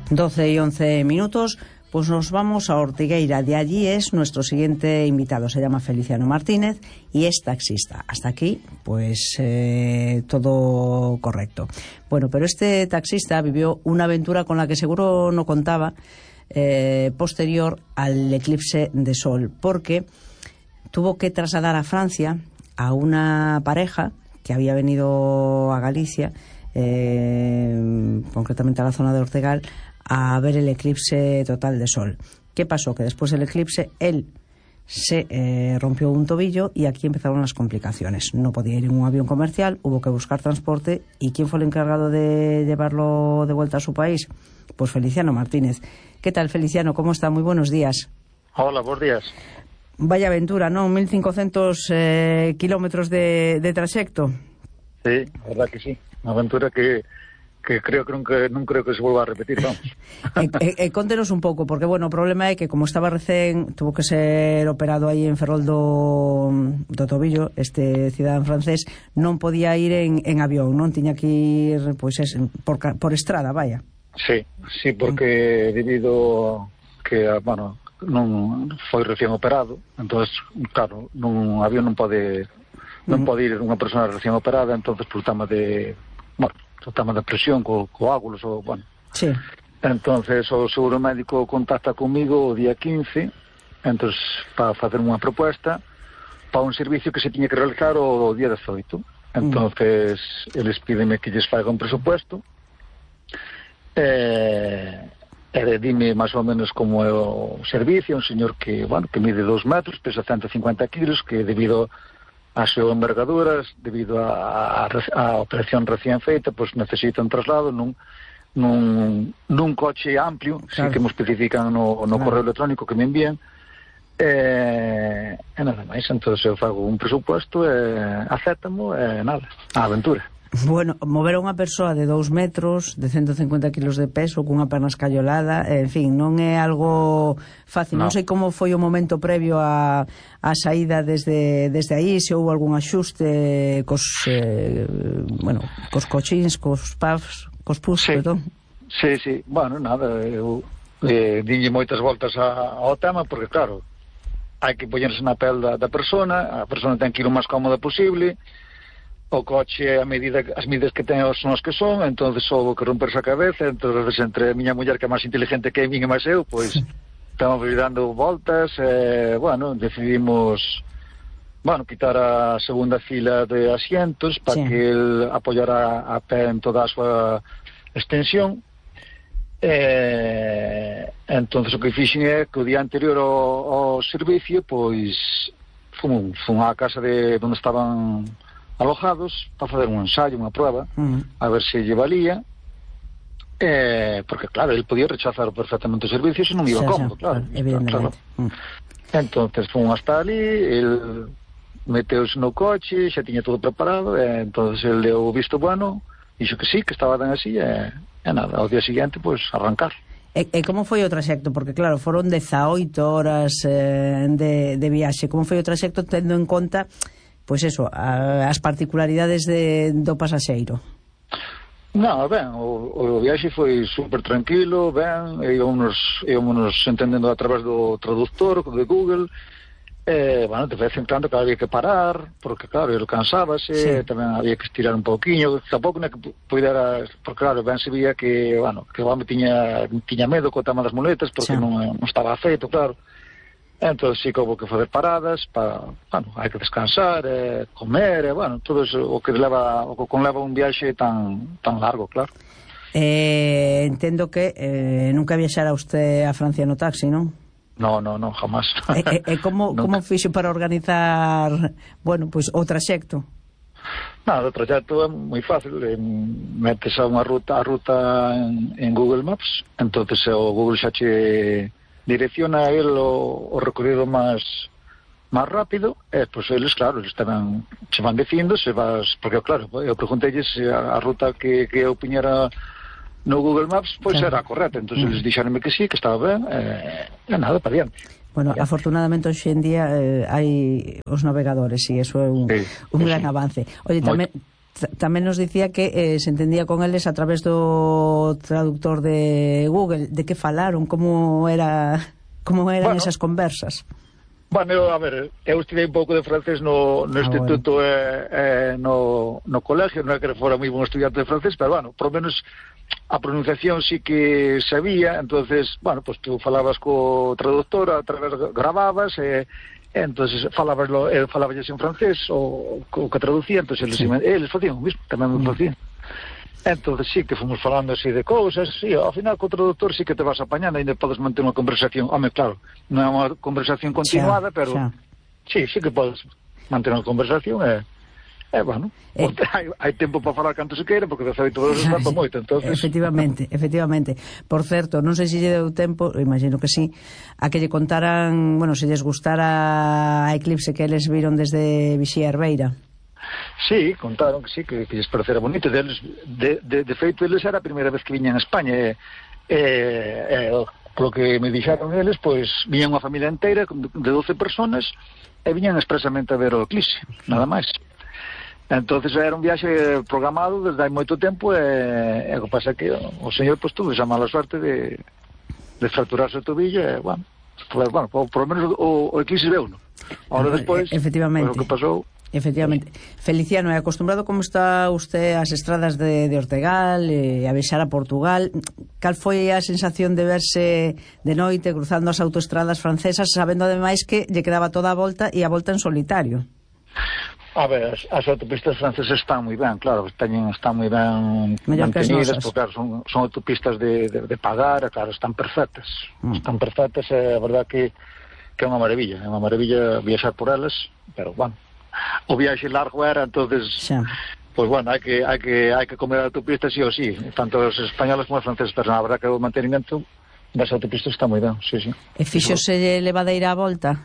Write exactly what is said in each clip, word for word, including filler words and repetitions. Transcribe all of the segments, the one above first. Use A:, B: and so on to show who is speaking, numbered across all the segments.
A: doce y once minutos, pues nos vamos a Ortigueira. De allí es nuestro siguiente invitado. Se llama Feliciano Martínez y es taxista. Hasta aquí, pues eh, todo correcto. Bueno, pero este taxista vivió una aventura con la que seguro no contaba, eh, posterior al eclipse de sol, porque tuvo que trasladar a Francia a una pareja que había venido a Galicia, eh, concretamente a la zona de Ortegal, a ver el eclipse total de sol. ¿Qué pasó? Que después del eclipse él se eh, rompió un tobillo y aquí empezaron las complicaciones. No podía ir en un avión comercial, hubo que buscar transporte. ¿Y quién fue el encargado de llevarlo de vuelta a su país? Pues Feliciano Martínez. ¿Qué tal, Feliciano? ¿Cómo está? Muy buenos días.
B: Hola, buenos días.
A: Vaya aventura, ¿no? mil cincuenta eh, kilómetros de, de trayecto.
B: Sí, la verdad que sí. Una aventura que... que creo que nunca, non creo que se volva a repetir, vamos.
A: eh, eh, eh, contenos un pouco, porque, bueno, o problema é que como estaba recén, tuvo que ser operado aí en Ferrol do, do tobillo, este cidadán francés, non podía ir en, en avión, non? Tiña que ir, pois, es, por, por estrada, vaya.
B: Sí, sí, porque debido que, bueno, non foi recén operado, entonces, claro, nun avión non pode non pode ir unha persona recén operada, entonces, por tema de, bueno, o tema da presión, co, coágulos, ou, bueno.
A: Sí.
B: Entonces, o seguro médico contacta comigo o día quince, entonces, para facer unha proposta para un servicio que se tiña que realizar o día dezoito. Entonces, mm. eles pídenme que lles faiga un presupuesto, e, e dime máis ou menos como é o servicio. Un señor que, bueno, que mide dos metros, pesa ciento cincuenta kilos, que debido as súas envergaduras, debido a, a, a operación recién feita, pois necesita un traslado nun, nun, nun coche amplio, claro. Sí que me especifican no, no claro. Correo electrónico que me envían, e, e nada máis. Entón eu fago un presupuesto e acéptamo e nada, a aventura.
A: Bueno, mover a unha persoa de dous metros, de ciento cincuenta kilos de peso, cunha perna escallolada, en fin, non é algo fácil. No. Non sei como foi o momento previo a, a saída desde, desde aí, se houve algún axuste cos, eh, bueno, cos cochins, cos pubs, cos pus,
B: sí.
A: perdón.
B: Sí, sí, bueno, nada, eu eh, dinlle moitas voltas a, ao tema, porque claro, hai que poñerse na pel da, da persona, a persona ten que ir o máis cómoda posible. O coche, a medida, as medidas que ten son as que son, entonces houve que romperse a cabeza. Entonces, entre a miña muller, que é máis inteligente que a min e máis eu, pois estamos dando voltas, e, bueno, decidimos, bueno, quitar a segunda fila de asientos para sí. que el apoyara a pé en toda a súa extensión. E, entonces, o que fixen é que o día anterior ao, ao servicio, pois, fun, fun á casa de onde estaban alojados para fazer un ensayo, unha prueba, uh-huh. a ver se lle valía, eh, porque claro, ele podía rechazar perfectamente o servicio se non iba sí, cómodo, sí, claro,
A: evidentemente.
B: Claro. Uh-huh. Entonces fun hasta ali, el meteuse no coche, xa tiña todo preparado, e entonces el deu o visto bueno, dixo que sí, que estaba ben así, e, e nada, ao día seguinte, pois, pues, arrancar.
A: E, e como foi o traxecto? Porque claro, foron dezaoito horas eh, de, de viaxe. Como foi o traxecto tendo en conta, pois eso, a, as particularidades de, do pasaxeiro?
B: Non, ben, o, o viaxe foi super tranquilo, ben, íbamos, íbamos entendendo a través do traductor de Google, e, bueno, de vez en cando que había que parar, porque claro, ele cansábase, sí. Tamén había que estirar un pouquiño, tampouco non que pudera, porque claro, ben se vía que, bueno, que o home tiña, tiña medo co tema das muletas, porque sí. non, non estaba feito, claro. Entón, sí que houve que fazer paradas para, bueno, hai que descansar, eh, comer, e, bueno, todo eso, o que leva, o que conleva un viaxe tan tan largo, claro.
A: Eh, entendo que eh, nunca viaxara usted a Francia no taxi, non?
B: No, no, no, jamás.
A: E, e, e como, como fixo para organizar, bueno, pois, pues, o traxecto?
B: Nada, o traxecto é moi fácil, eh, metes a unha ruta, a ruta en, en Google Maps, entonces o Google xa che direcciona a él o, o recorrido máis máis rápido, e, pois, eles, claro, eles tamén se van dicindo, se vas, porque, claro, eu preguntei se a, a ruta que, que eu piñera no Google Maps, pois, claro. Era correcta, entón, mm. eles dixeronme que sí, que estaba ben, e, e nada, para diante.
A: Bueno, ya. Afortunadamente hoxe en día eh, hai os navegadores, e iso é un, sí, un gran sí. avance. Oye, tamén, tamén nos dicía que eh, se entendía con eles a través do traductor de Google. De que falaron? Como era como eran bueno, esas conversas?
B: Bueno, eu, a ver, eu estudei un pouco de francés no, no ah, instituto bueno. eh, eh, no, no colegio, non é que fora moi bon estudiante de francés, pero bueno, por lo menos a pronunciación sí que sabía. Entonces, bueno, pues tú falabas co traductor, a través grababas e eh, entonces falabas lo, eh, falabas en francés o o que traducía, entonces eles, sí. eles facían o mismo, tamén me facían. Entonces sí que fomos falando así de cousas, sí, ao final co traductor sí que te vas apañando, ainda podes manter unha conversación. Home, claro, non é unha conversación continuada, xa, pero xa. sí, sí que podes manter unha conversación e Eh, bueno, eh, hai, hai tempo para falar canto se queira, porque de feito todos están para moito, entonces...
A: Efectivamente, efectivamente. Por certo, non sei se lle deu tempo, imagino que sí, a que lle contaran, bueno, se lles gustara a Eclipse que eles viron desde Vixía Herbeira.
B: Sí, contaron que sí, que, que lles parecera bonito. De, de, de, de feito, eles era a primeira vez que viñan a España, e, e, e polo que me dixeron eles, pois, viñan unha familia inteira de doce personas, e viñan expresamente a ver o Eclipse, nada máis. Entonces era un viaxe programado desde hai moito tempo, e, e o que pasa é que o señor pues, tuvo esa mala suerte de, de fracturarse o tobillo, e, bueno, pues, bueno por, por lo menos o, o Eclipse veu, ¿no? Ahora despois,
A: efectivamente,
B: pues, o que pasou...
A: Efectivamente. Feliciano, é acostumbrado como está usted ás estradas de, de Ortegal, eh, a viaxar a Portugal. Cal foi a sensación de verse de noite cruzando as autoestradas francesas, sabendo ademais que lle quedaba toda a volta e a volta en solitario?
B: A ver, as, as autopistas francesas están moi ben, claro, teñen, están moi ben mantenidas, porque claro, son, son autopistas de, de, de pagar, claro, están perfectas, mm. están perfectas, é a verdad que, que é unha maravilla, é unha maravilla viaxar por elas, pero, bueno, o viaxe largo era, entonces, xa. Pues bueno, hai que, hai que, hai que comer a autopista sí ou sí, tanto os españoles como os franceses, pero a verdad que o mantenimento das autopistas está moi ben, sí, sí.
A: E fixose levadeira a volta?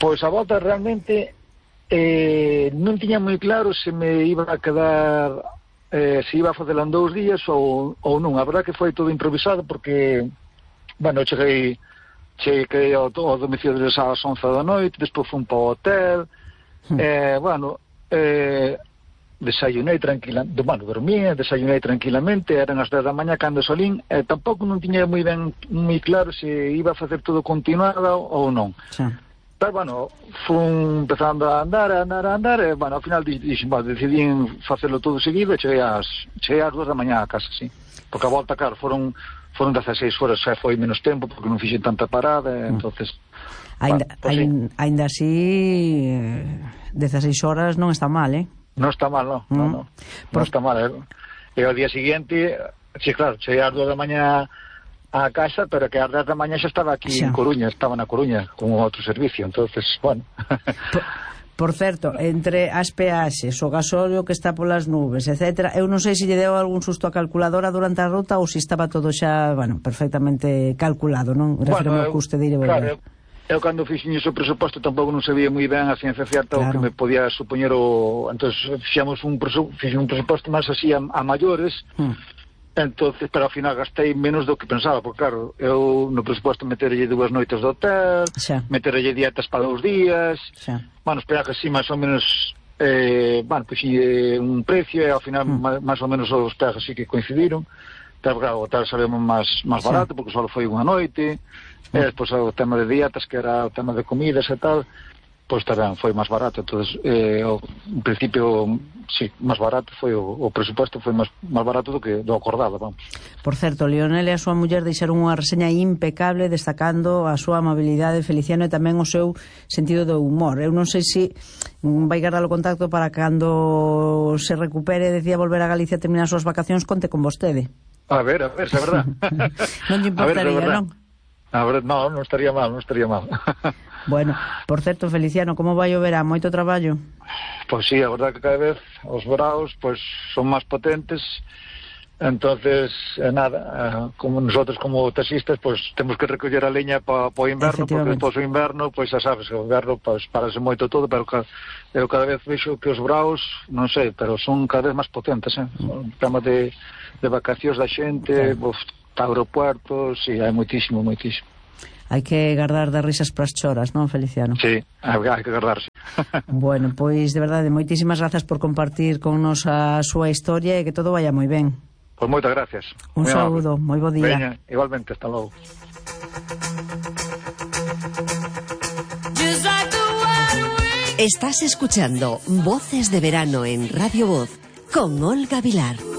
B: Pois a volta realmente... Eh, non tiña moi claro se me iba a quedar eh, se iba a facer en dous días ou, ou non. A verdad que foi todo improvisado porque, bueno, cheguei cheguei ao, ao domicilio deles ás once da noite, despois fui para o hotel, mm. eh, bueno, eh, desayunei tranquilamente, bueno, dormía, desayunei tranquilamente, eran as dez da mañá cando solín, e eh, tampouco non tiña moi ben moi claro se iba a facer todo continuado ou non. Sí. Pero, bueno, fui empezando a andar, a andar, a andar, e, bueno, ao final dixen, bueno, decidí facelo todo seguido, e cheguei ás, cheguei ás dúas da mañá a casa, sí. Porque a volta, claro, foron, foron dezaseis horas, xa foi menos tempo, porque non fixen tanta parada, e, mm. entonces...
A: Ainda,
B: bueno, pues,
A: sí. ainda así, dezaseis horas non está mal, eh?
B: Non está mal, non, mm. non, non, Por... non está mal, eh? E ao día seguinte, sí, claro, cheguei ás dúas da mañá a casa, pero que a dez da mañá xa estaba aquí xa. en Coruña, estaba na Coruña con outro servicio, entonces, bueno.
A: Por, por certo, entre as peaxes, o gasóleo que está polas nubes, etcétera, eu non sei se lle deu algún susto a calculadora durante a ruta ou se estaba todo xa, bueno, perfectamente calculado, non? Refirmo
B: bueno,
A: ao custe de ir e volver.
B: Claro, eu, eu cando fixen iso presuposto tampouco non sabía moi ben a ciencia certa claro. o que me podía supoñer o... Entón, fixemos un, presu... fixen un presuposto máis así a, a maiores, hmm. Entonces, pero ao final gastei menos do que pensaba, porque claro, eu no presuposto meterelle dúas noites de hotel, xa. meterelle dietas para dous días, xa. bueno, espera que sí, máis ou menos, eh, bueno, pues sí, eh, un precio, e ao final mm. máis ou menos os peajes sí que coincidiron, pero claro, o hotel sabemos máis, máis barato, xa. porque só foi unha noite, mm. e despois o tema de dietas, que era o tema de comidas e tal, pois tamén foi máis barato, entonces eh, ao, en principio sí, máis barato foi o, o presupuesto foi máis, máis barato do que do acordado, vamos.
A: Por certo, Lionel e a súa muller deixaron unha reseña impecable destacando a súa amabilidade, Feliciano, e tamén o seu sentido do humor. Eu non sei se vai guardar o contacto para cando se recupere, decía volver a Galicia a terminar as súas vacacións, conte con vostede.
B: A ver, a ver, se é verdad.
A: Non lle importaría, non?
B: A ver, non, non estaría mal, non estaría mal.
A: Bueno, por certo, Feliciano, como vai o verán? Moito traballo?
B: Pois sí, a verdad que cada vez os veraos pois, son máis potentes, entonces, eh, nada, eh, como nosotros como taxistas, pois temos que recoller a leña para pa o inverno, porque despois o inverno, pois xa sabes, o inverno pois, parase moito todo, pero ca, eu cada vez vexo que os veraos, non sei, pero son cada vez máis potentes, eh? O tema de, de vacacións da xente, claro. Os aeropuertos, sí, hai moitísimo, moitísimo.
A: Hai que guardar das risas pras choras, non, Feliciano?
B: Sí, hai que guardarse.
A: Bueno, pois de verdade, moitísimas grazas por compartir con nos a súa historia e que todo vaya moi ben.
B: Pois moitas gracias.
A: Un saúdo, moi bo día.
B: Veña, igualmente, hasta logo.
C: Estás escuchando Voces de Verano en Radio Voz con Olga Vilar.